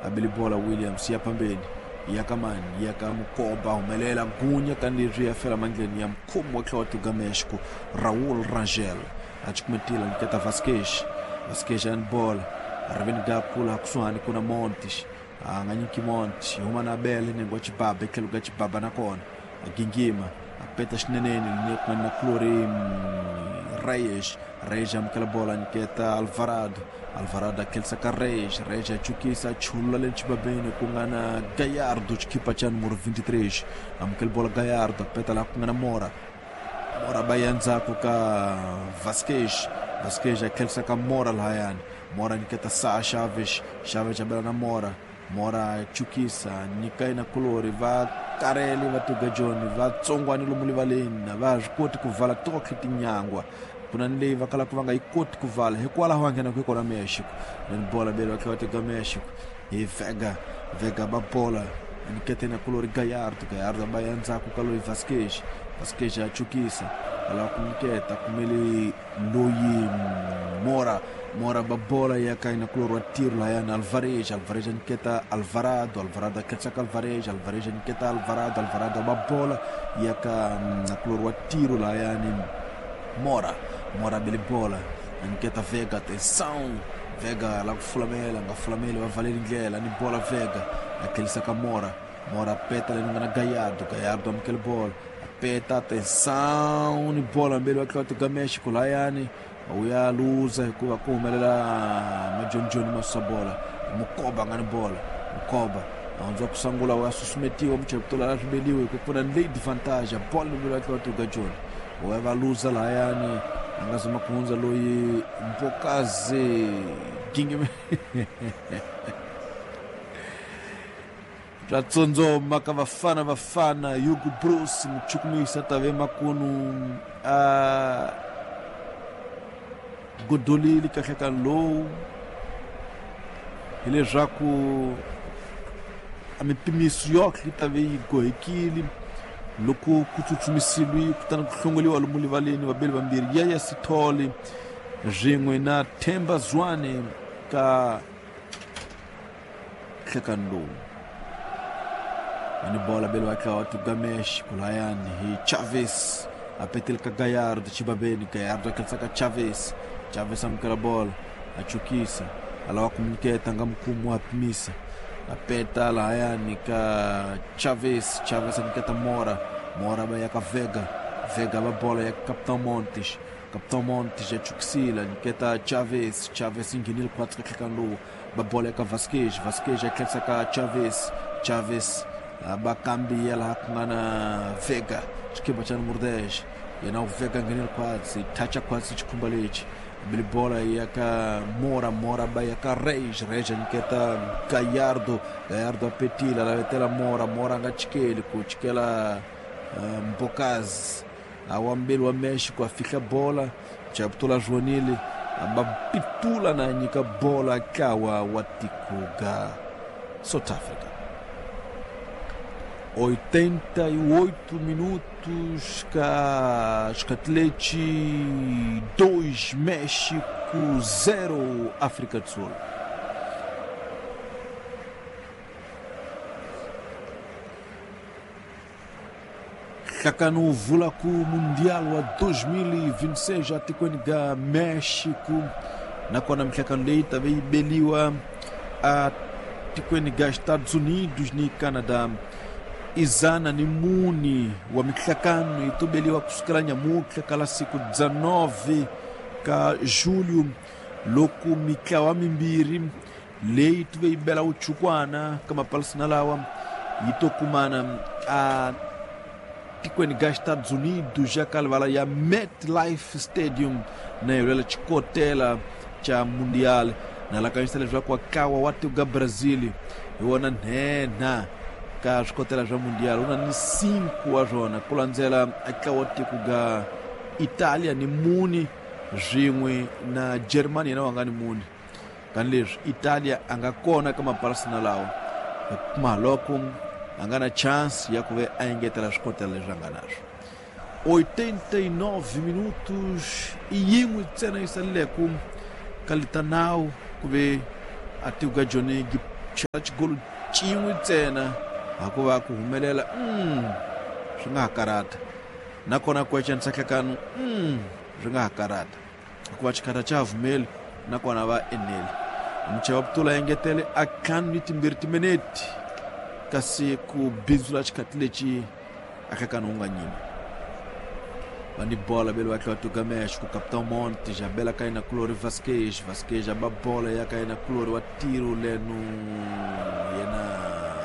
A beli bola Williams ya phambeni ya ka mani ya ka Mukoba humelela gunya tanihileswi ya fela mandleni ya mukhomi wa ntlawa wa tiko Mexico Raul Rangel a cukumetile a nyiketa Vasquez Vasquez a ni bola riveni ga kula kusuhani kuna Montes a nga nyiki Montes yi huma na Abel nenge wa Chibaba etlhelo ka Chibaba nakona a gingima a peta xineneni ni ku na Clori Reyes Reyes amukela bola a nyiketa Alvarado Alvarado a khensa ka Reyes Reyes a chukisa a chulula le xibabeni ku nga na Gallardo xikhipa xa numero 23 amukela bola Gallardo a peta laha ku nga na Mora Mora ba ya ndzhaku ka Vasquez Vasquez a khensa ka Mora lahayani Mora nyiketa Sa Chaves Chaves a bela na Mora Mora chukisa nyika yena kulori va karele va tuga joni va tsongwani lomu rivaleni a va ha swi koti ku vala totlhe tinyangwa ku na ni leyi va kalaka va nga yi koti ku vala hikwalaho va nghenaka hi kona Mexico then bola bele va tlhela va teka Mexico hi Vega Vega ba bola nyikete na kulori Gallardo Gallardo ba ya ndzhaku ka loyi Vasquez Vasquez a chukisa a lava ku nyiketa kumele loyi Mora Mora ba bola ya ka yena kulori wa tiro lahayani Alvarez Alvarez a nyiketa Alvarado Alvarado a khetsa ka Alvarez Alvarez a nyiketa Alvarado Alvarado ba bola ya ka na kulori wa tiro lahayani Mora Mora bele bola a nyiketa Vega atenção Vega la ku fulamela nga fulameli va valeli ndlela ni bola Vega a tlhelisa ka Mora Mora peta leyi nga na Gallardo Gallardo amukele bola peta atenção ni bola mbeli va tlhela va Mexico lahayani wu ya luza hikuva ku humelela majonijoni ma susa bola Mukoba nga ni bola Mukoba a hundza ku sungula wa susumetiwa muchayeri la swi hi ku pfuna ni leyi advantage ya bola mbeli va tlhela va tuka joni wu ya va luza lahayani a nga zama ku hundza loyi Mbokazi Gingime swa tsondzoma ka Bafana Bafana Hugo Broos muchukumisi a ta ve makunu a godolile kahle ka lowu hileswaku a mipimiso yohle yi ta ve yi gohekile loko ku tsutsumisiwi kutani ku hlongoliwa lomu rivaleni vabeli vambirhi Yaya Sithole swin'we na Themba Zwane ka nhlekani lowu ani bola bele wa tuga Mexico lahayani hi Chavez a petele ka Gallardo xibabeni Gallardo a khensa ka Chavez Chavez amukela bola a chukisa a lava ku nyiketa nga mukhumu wa pimisa a peta lahayani ka Chavez Chavez a nyiketa Mora Mora va ya ka Vega Vega va bola ya Capitão Montes Capitão Montes a chukisile a nyiketa Chavez Chavez yi nghenile khwatsi ka nhlekani lowu va bola eka Vasquez Vasquez a tlherisa ka Chavez Chavez va kambiya laha ku nga na Vega xikhimba xa numero 10 yena u Vega nghenile khwatsi thacha khwatsi xikhumba lexi bili bola ya ka Mora Mora ba ya ka Reyes Reyes a nyiketa Gallardo Gallardo a petile a lavetela Mora Mora a nga chikeli ku chikela Mbokazi a wa mbeli wa Mexico a fihla bola Chaputula Zvonile va pitula na nyika bola ntlawa wa tiko ga South Africa 88 minutos ka Scatletti 2 México 0 África do Sul. Nhlakano wu vula ku Mundial wa 2026 atikweni ga Mexico nakona mihlakano leyi ta ve yi beliwa a tikweni ga Estados Unidos ni Canada izana ni muni wa mihlakano yi to beliwa kusukela nyamutlha ka la siku 19 ka julho loko mitlawa mimbirhi leyi tuve yi bela wuchukwana ka mapalisina lawa yi to kumana a tikweni ga Estados Unidos ya ka livala ya MetLife Stadium na yolela xikotela xa Mundial na lakanyisa leswaku ntlawa wa tiko ga Brazil hi wona nhenha ka swikotela swa Mundial wu na ni 5 wa swona ku landzela ntlawa wa tiko ga Italia ni muni swin'we na Germany yena wa nga ni muni tanihileswi Italia a nga kona ka mapalisina lawa hikuva loko a nga na chance ya ku ve a engetela swikotela leswi a nga na swo 89 minutos i yin'we ntsena yi saleleko ka litanawu ku ve a tiko ka joni Chela xigolo xin'we ntsena hakuva ku humelela swi nga ha karata nakona ku ecanisa nhlekano swi nga ha karata hikuva xikhata xa ha vumeli nakona va eneli. Muchaya wa Putula engetele a ntlhanu ni timbirhi timinete kasi ku bindzula xikhati lexi a nhlekano wu nga nyima. Va ni bola vele va tlhela tuka México Capitão Montes a bela ka yena kulori Vasquez Vasquez a ba bola ya ka yena kulori wa tiro leno yena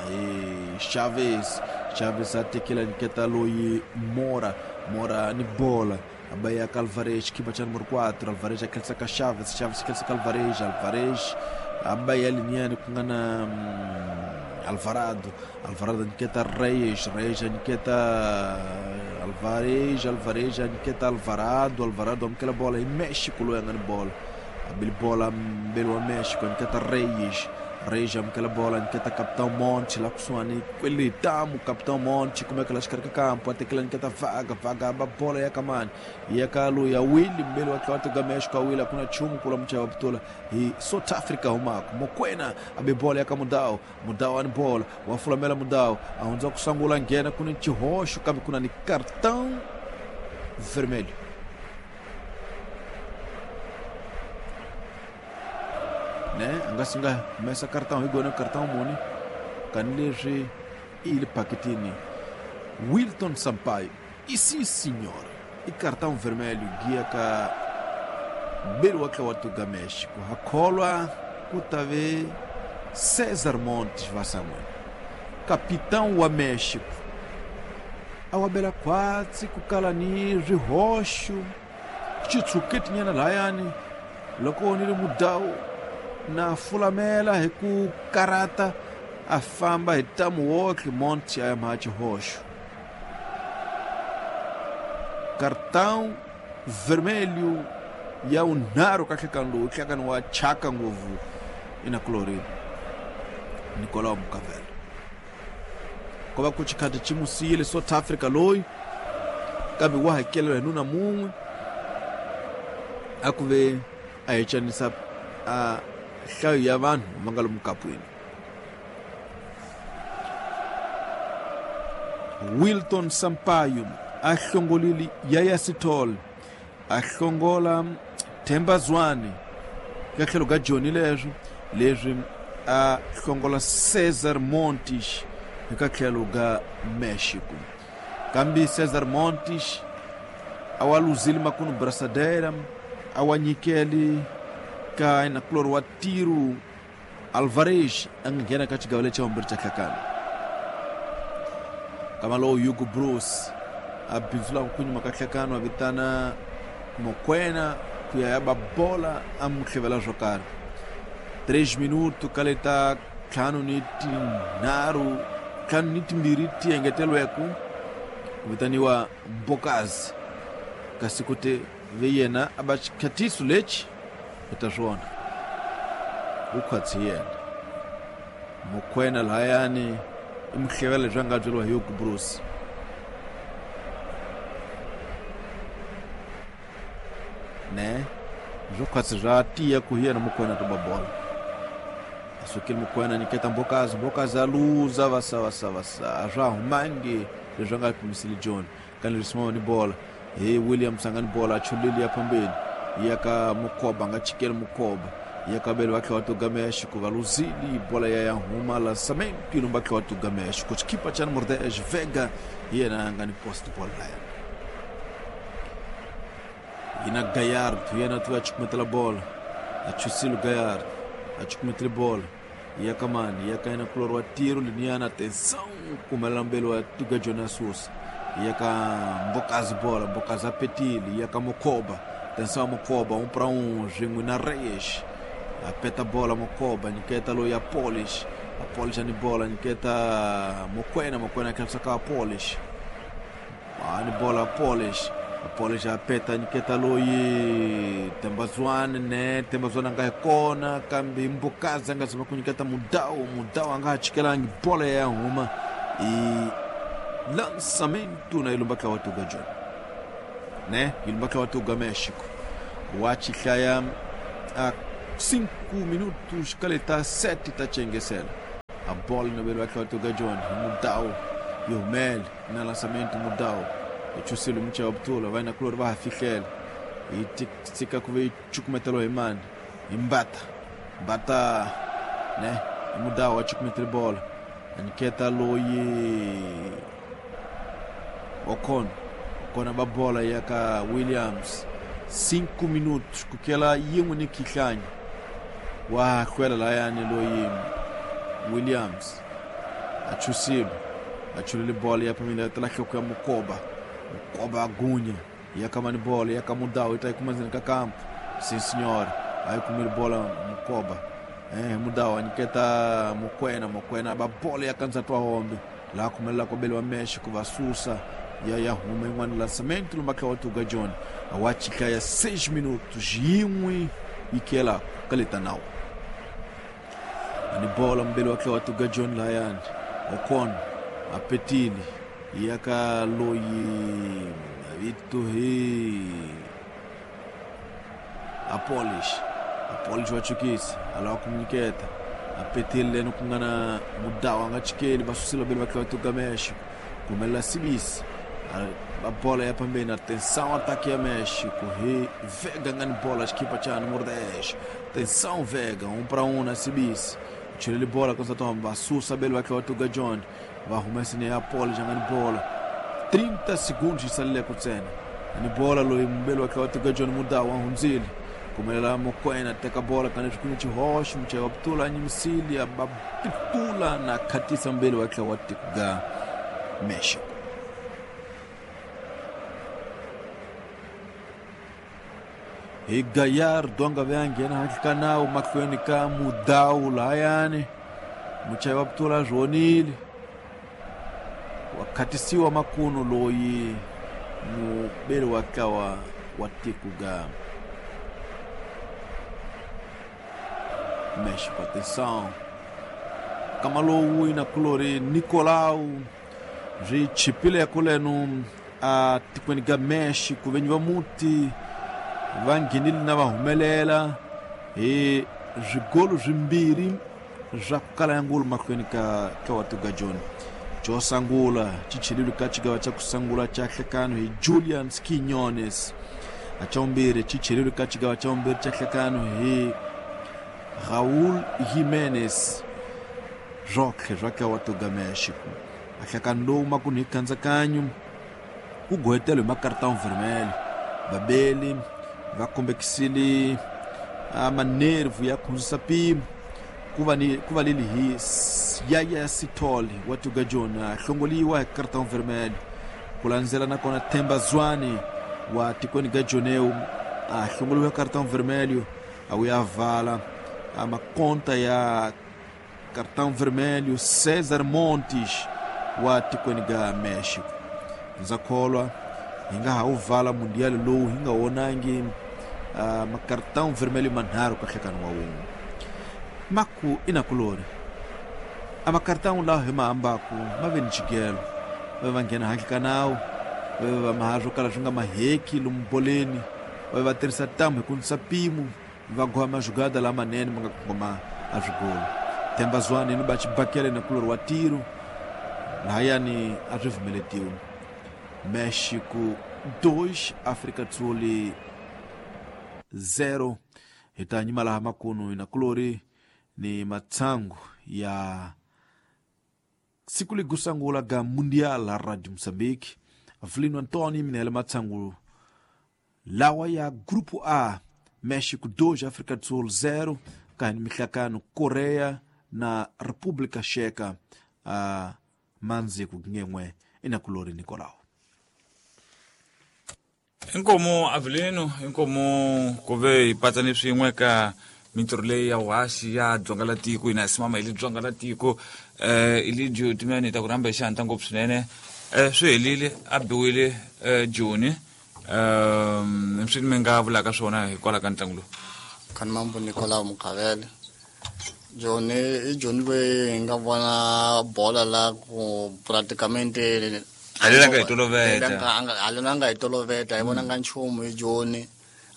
hi Chavez Chavez a tekela nyiketa loyi Mora Mora ni bola a ba ya ka Alvarez xikipa xa numero 4 Alvarez a khensa ka Chavez Chavez a khensa ka Alvarez Alvarez a ba ya liniyani ku nga na Alvarado Alvarado a nyiketa Reyes Reyes a nyiketa Alvarez Alvarez a nyiketa Alvarado Alvarado amukela bola hi Mexico loyi a nga ni bola a beli bola mbeli wa Mexico a nyiketa Reyes Reyes amukela bola a nyiketa Capitão Monte la kusuhani kwele tamu Capitão Monte kumeka la xikarhi ka kampo a tekela nyiketa Vaga Vaga a ba bola ya ka mani ya ka loyi a Willi mbeli wa tlhela tuka Mexico a Willi a ku na nchumu kula muchaya wa Putula hi South Africa humaka Mokwena a be bola ya ka Mudau Mudau a ni bola wa fulamela Mudau a hundza ku sangula nghena ku ni xihoxo kambe ku na ni cartão vermelho. Ne a nga si nga humesa cartão hi gona cartão muni kani leswi i le paketini Wilton Sampaio e sim senhor i cartão vermelho giya ka mbeli wa tla wa tuga México ha kholwa ku ta ve Cesar Montes va san'wini capitão wa México a wa bela khwatsi ku kala ni swihoxo xitshuketinyana lahayani loko ni ri mudawu na fulamela hi ku karata a famba hi tamu wotlhe Montes a ya mha xihoxo cartão vermelho ya vunharhu ka nhlekani lowu nhlekani wa chaka ngopfu inakulori Nicolau Mukavela ko va ku xikhati xi mu siyile South Africa loyi kambe wa hakelela hi nuna mun'we a ku ve a hecanisa a nhlayo ya vanhu va nga lomu kapwini. Wilton Sampaio a hlongolile Yaya Sithole a hlongola Themba Zwane ka tlhelo ka Joni leswo leswi a hlongola Cesar Montes eka tlhelo ka Mexico kambe Cesar Montes a wa luzile makunu brasadera a wa nyikeli ka nakulori wa tiro Alvarez a nga nghena ka xigava lexa vumbirhi xa nhlakano. Kama lowu Hugo Broos a bindzulaka ku nyuma ka nhlakano a vitana Mokwena ku ya ya ba bola a n'wi hlevela swo karhi. 3 minuto ka leta ntlhanu ni tinharhu ntlhanu ni timbirhi ti engetelweke ku vitaniwa Mbokazi kasi ku te ve yena a ba xikhatiso lexi hi ta swona wu khwatsi yena Mokwena lahayani i muhlevela leswi a nga byeriwa hi Hugo Broos. Ne swo khwatsi swa tiya ku hi yena Mokwena to ba bola a sukile Mokwena nyiketa Mbokazi Mbokazi a luza vasa vasa vasa a swa humangi leswi a nga pimisile John kani leswi ni bola hi Williams a nga ni bola a chulile ya phambeni ya ka Mukoba nga chikeli Mukoba ya ka bele va tlhela va tuga México va luzili bola ya ya huma lançamento ilumba tlhela va tuga México xikipa xa número 10 Vega hi yena a nga ni post ball laya yina Gallardo yena tiva chukumetela bola a chusile Gallardo a chukumetele bola ya ka mani ya ka yena kulori wa tiro liniyana atenção kumelela mbeli wa tuga Jonas Sousa ya ka Mbokazi bola Mbokazi apetile ya ka Mokoba atenção Mokoba 1 para 1 swin'we na Reyes apeta bola Mokoba nyiketa loyi ya Polish a Polish ani bola nyiketa Mokwena Mokwena akhensa ka Polish ani bola Polish Polish apeta nyiketa loyi Tembazwane ne Tembazwane a nga hi kona kambe Mbokazi a nga zama ku nyiketa Mudau Mudau a nga ha chikelangi bola ya huma i lançamento na ilumba tla wa tuga John ne ilumba tla wa tuga México wa xihlaya a 5 minutos kaleta 7 ta chengesela A bola no wa tloga John Mudau yi humele na lançamento Mudau yi chusile mucha wa butula va na kulori va ha fihlela yi tika ku ve yi cukumetelo hi mani hi Mbata Mbata ne Mudau a cukumetele bola a nyiketa loyi Ocon Ocon ba bola ya ka Williams 5 minutos kukela yin'we ni khihlanya wa hlwela layani loyi Williams a chusile a chulile bola ya phamile tala hloko ya Mukoba Mukoba agunya ya kamani bola ya kamudau ita kuma ndzeni ka kampo sim senhor aí kumile bola Mukoba Mudau aniketa Mokwena Mokwena ba bola ya kanza twa hombe la kumelela ko bele wa México va susa ya huma yin'wana lançamento lombaka wa Tuga John wa chika ya 6 minutos yin'we yikela kaleta nawo ani bola mbele wa wa Tuga John layani Ocon apetili yaka loyi vito hi Apolish Apolish wa chukisi alawa kumnyiketa apetili leno kungana Mudau anga chikeli basusila bele wa Tuga México kumela Sibisi a bola ya pambeni atenção ataque ya México e Vega ngani bola equipa cha número 10 atenção Vega 1-1 na Sibisi tira ele bola com Satomba sussa bele wa Tuga John va humesa ne Apolo jangani bola 30 segundos isalile kutsena ani bola lo mbele wa Tuga John Mudau ahunzile kumelela Mokwena teka bola kana chikuni chihoshi mchewa btula nyimisili ababtula na katisa mbele wa Tuga México. E Gallardo anga ve nghena handle ka nawu mahlweni ka Mudau layani muchayi wa btula zvonile wa khatisiwa makuno loyi mubeli wa tlawa wa tiko ga México. Atenção kama lowu ina kulori Nicolau zwi chipile kulenu a tikweni ga México venyi va muti va nghenile na va humelela hi swigolo swimbirhi swa ku kala ya ngulu mahlweni ka wa Tuga John xo sungula xi chelile ka xigava xa ku sungula xa hlekano hi Julian Quiñones a xa vumbirhi xi chelile ka xigava xa vumbirhi xa hlekano hi Raúl Jiménez Roque swa ka wa Tuga México a hlekano lowu makunu hi kandzakanyo ku gohetelo hi makartão vermelho vabeli va kombekisile manervu ya khundzisa mpimo ku va leli hi Yaya Sithole wa Tuga John hlongoliwa hi cartão vermelho ku landzela nakona Themba Zwane wa tikweni ga Joneu a hlongoliwa hi cartão vermelho a wuya vala a makonta ya cartão vermelho César Montes wa tikweni ga México. Ndza kholwa hi nga ha wu vala mundial lowu hi nga vonangi macartão vermelho manharhu ka hlekano wa wun'we maku inakulori a macartão lawa hi ma ambaku ma ve ni xigelo va va nghena handle ka nawu va va maha swo kala swi nga maheki lomu boleni va va tirhisa ntambu hi ku nisa mpimo va goha majugada lamanene ma nga kongoma a swigolo Themba Zwane ni ba xibakele na kulori wa tiro lahayani a swi pfumeletiwi México 2 África do Sul 0 hi ta nyima laha makunu na kulori ni matsangu ya siku ligusangula ga Mundial la Radio Mozambique Avelino Antônio minele matsangu lawa ya Grupo A México 2 África do Sul 0 kahani mihlakano Korea na República Checa a manzi ku ngen'we inakulori Nicolau. Inkomo Avelino inkomo ku ve hi patsane swin'we ka mintirho leyi ya wasi ya dzonga la tiko ina simama hi le dzonga la tiko Elidio Timene ta ku rhamba hi xihantla ngopfu swinene swi helile a biwile Joni swi mi nga vulaka swona hikwalaho ka ntlangu lowu. Khanimambo Nicolau Mukhavele Joni i Joni loyi hi nga vona bola la ku praticamente halena nga hi toloveta halena nga hi toloveta hi vonanga nchumu hi Joni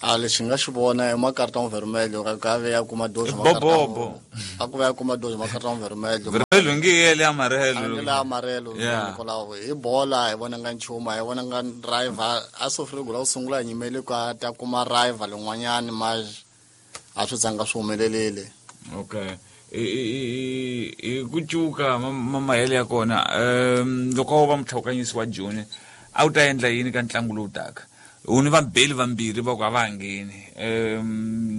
A lexi nga xi vona i macarton vermelho ka ve ya kuma dois Bobobo. A ku va ya kuma dois macarton vermelho. Vermelho ngi yele amarelo. Le amarelo. Yeah. Nicolau hi bola hi vona nga nchumu, hi vona nga rival a sofre gula ku sungula hi nyimele ku a ta kuma rival yin'wanyani, ma a swi zanga swi humelelile. Okay, hi ku cuka mahele ya kona, loko wo va mutlhawukanyisi wa Joni, a wu ta endla yini ka ntlangu lowu taka? U ni vabeli vambirhi va ku a va ha ngheni,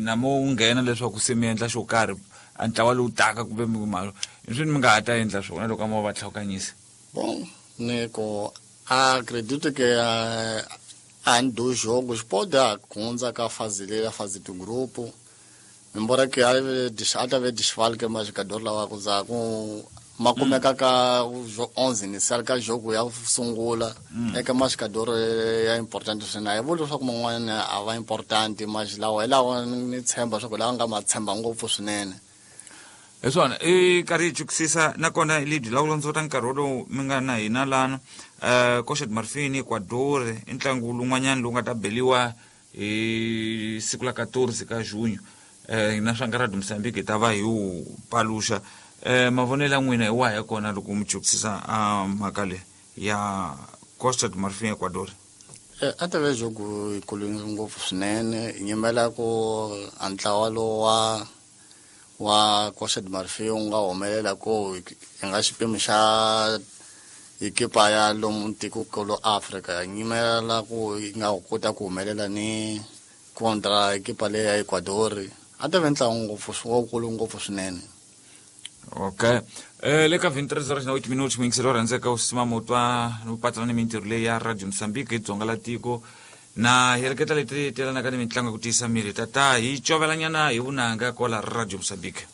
namo wu nghena leswaku se mi endla xo karhi a ntlawa lowu taka, kumbe mi malo swi mi nga ha ta endla swona loko a mo va tlhawukanyisa? Bom, Nico, acredito que a do jogos pode hundza ka fase leyi ya fase de grupo, embora que a ta ve desfalque ma jogador lawa ku za ku ma kumeka ka 11 inicial ka jogo ya sungula eka ma jogador ya important swinene. A hi vuli leswaku man'wana a va important, mas lawa hi lawa ni tshemba leswaku lawa nga ma tshemba ngopfu swinene. Hi swona, i karhi hi chukisisa nakona lebyi lawula nkarhi wolowu mi nga na hina lana. Costa de Marfin, Ecuador, i ntlangu lowun'wanyana lowu nga ta beliwa hi siku la 14 ka junho. Hina swa nga Radio Mozambique hi ta va hi wu paluxa. Mavonelo ya n'wina hi wahi ya kona loko mi chukisisa a mhaka leyi ya Costa de Marfin, Ecuador? A ta ve jogo yikulu ngopfu swinene. Hi nyimela ku a ntlawa lowu wa Costa de Marfin wu nga humelela ku hi nga xipimo xa ekipa ya lomu tikokulu Africa, hi nyimela ku yi nga kota ku humelela ni contra ekipa leyi ya Ecuador. A ta ve ntlangu ngopfu wukulu ngopfu swinene. Okay, le ka 23 horas na 8 minutos, muyingiseri wa rhandzeka u sima mutwa no patsana ni mintirho leyi ya Radio Mozambique hi dzonga la tiko na heleketa leti telanaka ni mitlangu ya ku tiyisa miri, tata hi covelanyana hi vunanga kwala Radio Mozambique.